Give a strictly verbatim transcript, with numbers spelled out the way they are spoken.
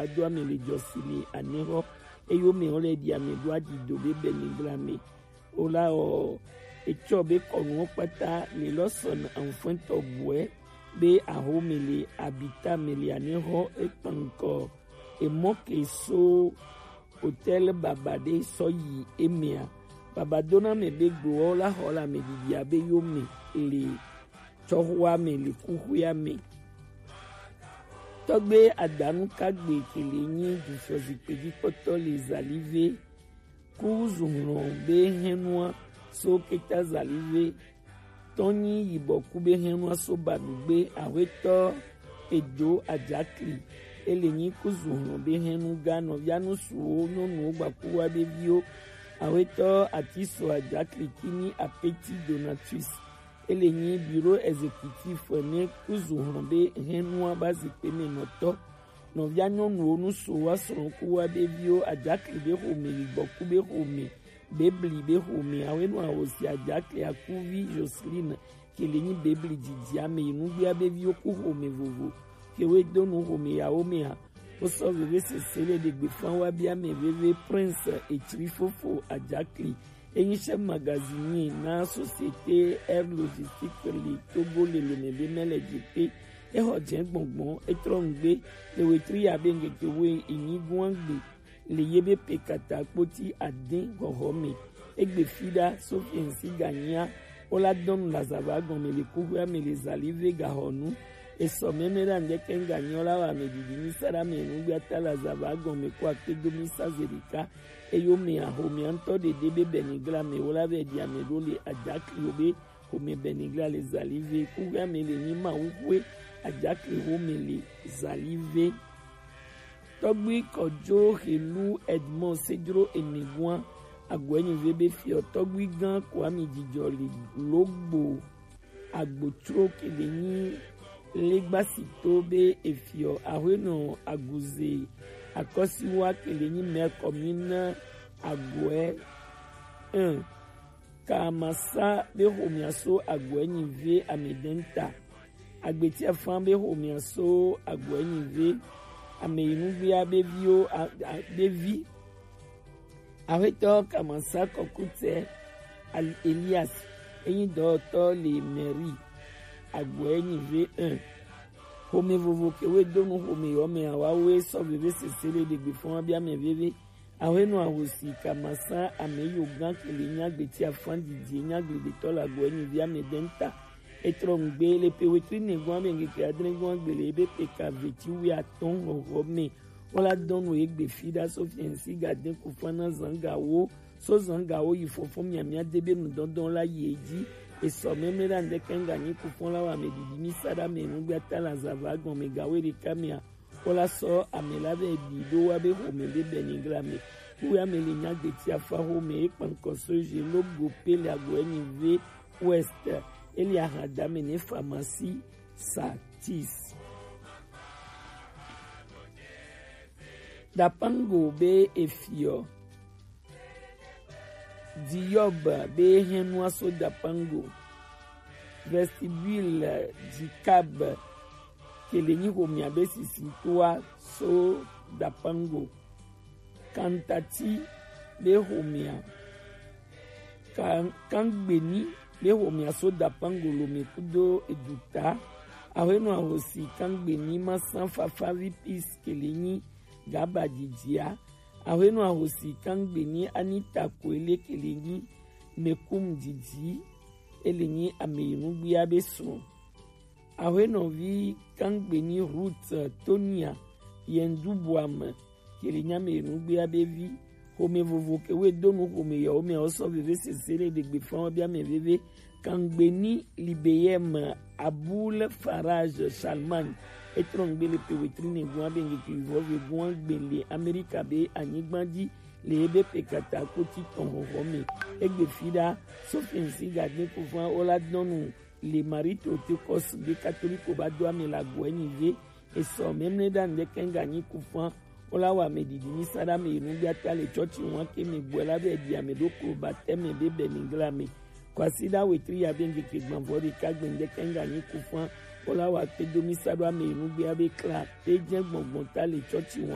ado ame le jɔsi le anexɔ, eye wo mɛ wo le ɖi ame ɖo aɖido be bɛnigla mɛ. Wo la ɔ, etsɔ be kɔnuwo kpata le lɔ sɔna anfɛntɔ bɔɛ be axome le abita mɛ le anexɔ ekpankɔ emɔ ke so hôtel baba ɖe sɔ yi emea. Baba dona mɛ be gbowo la xɔ le ame ɖiɖi abe yo mɛ le tsɔxɔa mɛ le kuxɔa mɛ. Tɔgbe Adanu Kagbe ke le nyi dufɔzikpe dzi kpɔtɔ le Zalive ku zu hlɔn be hɛnua so keta Zalive tɔn nyi yibɔ ku be hɛnua so ba ɖugbe. Axwetɔ Edo Ajakli, ele nyi ku zu hlɔn be hɛnu ga nɔvia nusuwo nyɔnuwo gbakuwa be viwo. Axwetɔ Atiso Ajakli ki nyi Apeti Donatus, ele nyi bureau exécutif ne ku zu hlɔn be hɛnua ba zikpe mɛ nɔtɔ. Nɔvia nyɔnuwo nusuwo asrɔ̃ kuwa be viwo Ajakli be xome yibɔ ku be xome Bebli be xome, Axwenu Ahosi Ajakli akuvi Joseline ke le nyi Bebli didi ame yi nugbea be viwo ku xome vovo ke wo do nu xome yawo mea. Wo sɔ veve sese le ɖegbe fan wa bia mɛ veve Prince Etsri fofo Ajakli. Enyi chef magazinier na société Air Logistique le Togo le lome be mɛ le jepe. Exɔ jɛ gbɔngbɔn, etrɔ nugbe le wetri ya be ngeke wo enyi guangbe le ye be pe kata kpoti adin hɔhɔ me. Egbe fi ɖa Sofiensi ganyia wo la dɔnu le azava gɔme le kuxɔa me le Zalive gahɔnu. Esɔ mɛmɛ ɖa ŋdɛkɛ ŋganyi wo la wa ame ɖiɖi mi sa ɖa me nugbea ta le azava gɔme ko akpe do mi sa ze ɖeka. Eyo me axomea ŋutɔ ɖeɖe be bɛnigla me wo la vɛ ɖi ame ɖo le Ajakli wo be xome bɛnigla le Zalive. Kuxɔa me le nyi Mawuxwe Ajakli xome le Zalive. Tɔgbui Kɔjo Helu Edmond Sedro Enegua Agɔɛnyive be fiɔ tɔgbui gã Kwami Jijɔ le Logbo Agbotsro ke le nyi Legbasito be efiɔ Axwenɔ Aguze Akɔsiwa ke le nyi maire commune Agɔɛ un. Kamasa be xomea so Agɔɛnyive amedɛnta. Agbeti Afan be xomea so Agɔɛnyive ameyinugbea be viwo a- a- be vi. Axwetɔ Kamasa Kɔkutɛ Al- Elias enyi dɔwɔtɔ le mairie Agɔɛnyive un. Xome vovo ke wo do nu xome yɔ me awa wo sɔ veve sese le ɖegbe fɔn wa bia mɛ veve. Axwenu Ahosi Kamasa ameyo gã ke le nyi Agbeti Afan didi enyi agbledetɔ le Agɔɛnyive amedɛnta. Etrɔ nugbe le pe wetri nɛgɔn ame ŋkeke adrɛgɔn agbe le ebe pe ka veti wi atɔn hɔhɔ me. Wo la dɔnu egbe fi ɖa Sofiensi ga de kufan na zangawo. So zangawo yi fɔfɔ miamia de be nudɔdɔn la yi edzi. Esɔ mɛmɛ ɖa ŋdɛkɛ ŋganyi kufan la wa ame ɖiɖi mi sa ɖa me nugbea ta le azava gɔme gawo ɖeka mea. Wo la sɔ ame la vɛ ɖi ɖo wa be xome be bɛnigla me. Kuwe ame le nyi Agbeti Afan xome ekpankɔ so je logo pe le Agɔɛnyive ouest. Ele ahan dame ne pharmacie Satis. Dapango be efiɔ. Diyɔb be hɛnua so Dapango. Vestibule Dikab ke le nyi xomea be sisitoa so Dapango. Kantati be xomea. Kan- Kangbeni be xomea so Dapango lome kudo eduta. Axwenu Ahosi Kangbeni ma san fafavi pis ke le nyi gaba didia. Axwenu Ahosi Kangbeni Anita Koele ke le nyi mekum didi. Ele nyi ameyinugbia be srɔ̃. Axwenɔvi Kangbeni Ruth Tonia Yendubuame ke le nyi ameyinugbia be vi. Xome vovo ke wo do nu xome yawo me wo sɔ veve sese le ɖegbe fɔn wa bia mɛ veve. Kangbeni Libeyem Abul Faraj Charlemagne etrɔ nugbe le pe wetri nɛgɔn abe ŋkeke vivɔ vegɔn agbe le Amerika be anyigba dzi le ebe pe kata kpoti tɔn xɔxɔ me. Egbe fi ɖa Sofiensi ga de kufan wo la dɔnu le Marie Théotokos be katoliko ba do ame le Agɔɛnyive. Esɔ mɛmɛ ɖa ŋdɛkɛ ŋganyi kufan wo la wa ame ɖiɖi mi sa ɖa ame yinugbea ta le tsɔtsi wan ke me gbɔe la vɛ ɖi ame ɖo klo batɛme be bɛnigla me. Kwasiɖa wetri ya be ŋkeke gbanvɔ ɖeka gbe ŋdɛkɛ ŋganyi kufan wo la wa kpedo mi sa ɖo ame yinugbea be kla te jɛ gbɔngbɔn ta le tsɔtsi wan.